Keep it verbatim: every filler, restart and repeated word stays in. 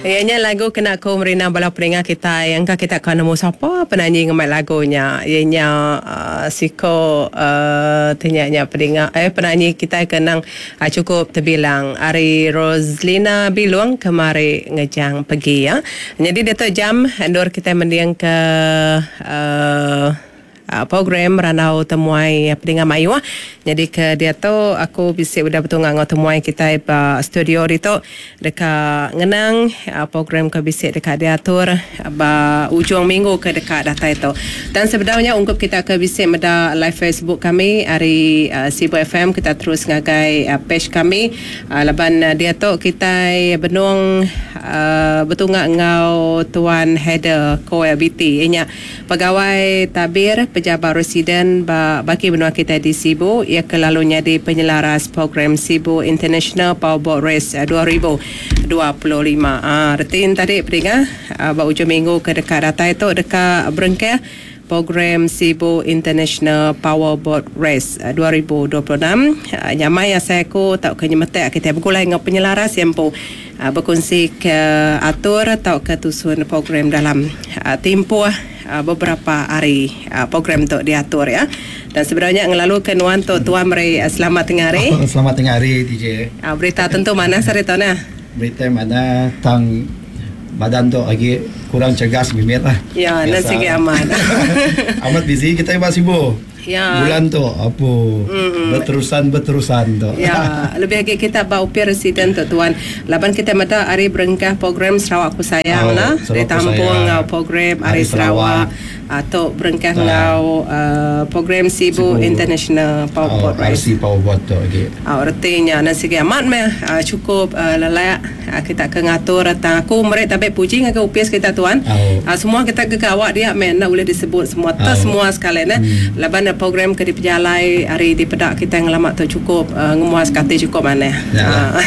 Iya nya lagu kena aku merindang bala peninga kitai. Engka kita ka nemu sapa penanyi ngemai lagu nya. Iya nya uh, siko uh, tanya nya peninga eh penanyi kitai ke nang uh, cukup terbilang ari Roslina Bilung, Kemari Ngejang Pegi ya. Jadi diatu jam endur kita mending ke uh, uh, program Randau Temuai Peninga Mayuh. Jadi ke dia tu aku bisi udah betul ngau temuai kita ba studio ditu deka ngenang uh, program ke bisi deka diatur ba ujung minggu ke deka datai tu. Dan sebenarnya ungkup kita ke bisi meda live Facebook kami ari uh, Sibu F M, kita terus ngagai uh, page kami uh, laban uh, dia tu kita benung uh, betunga ngau Tuan Heather Koel B T nya pegawai tabir Pejabat Residen ba bagi benua kita di Sibu, ia ke lalu jadi penyelaras program Sibu International Powerboat Race dua ribu dua puluh lima. Ah, retin tadi peninga, ah, ba ujung minggu ke dekat datai tu dekat berengkah program Sibu International Powerboat Race dua ribu dua puluh enam. Ah, nyamai asai aku tau ke nyemetek kita begulai ngau penyelaras yang pu ah, berkongsi ke atur atau ke tusun program dalam tempoh beberapa hari program tu diatur ya. Dan sebenarnya ngelalu ke nuan tu tuan, meri selamat tengah hari. Oh, selamat tengah hari D J. Berita tentu mana sari tu nah? Berita mana tang badan tu lagi kurang cergas mimit lah. Ya, nan sigi amat. Amat busy kita ba sibuk. Ya. Bulan tu apa mm-hmm. berterusan berterusan tu. Ya, lebih lagi kita ba upir residen tu tuan. Laban kita meda hari berengkah program Sarawak Ku Sayang Oh, lah, Sarawak Ku ditampung Sayang. Ngau program Hari Hari Sarawak Sarawak. Atau berengkah Ah. ngau uh, program Sibu Sibu. International Oh, Powerboat Race. R C Powerboat tu lagi. Ah, artinya nasi amat meh uh, cukup uh, lelak uh, kita ke ngatur tang aku mereka tapi puji ngagai upis kita tuan. Oh. Uh, semua kita ke gawak dia meh nak boleh disebut semua oh. Oh. Semua sekali nah. Hmm. Laban uh, program ke dipejalai hari di pedak kita yang lama tu cukup uh, ngemuas kati cukup mana. Ya. Uh,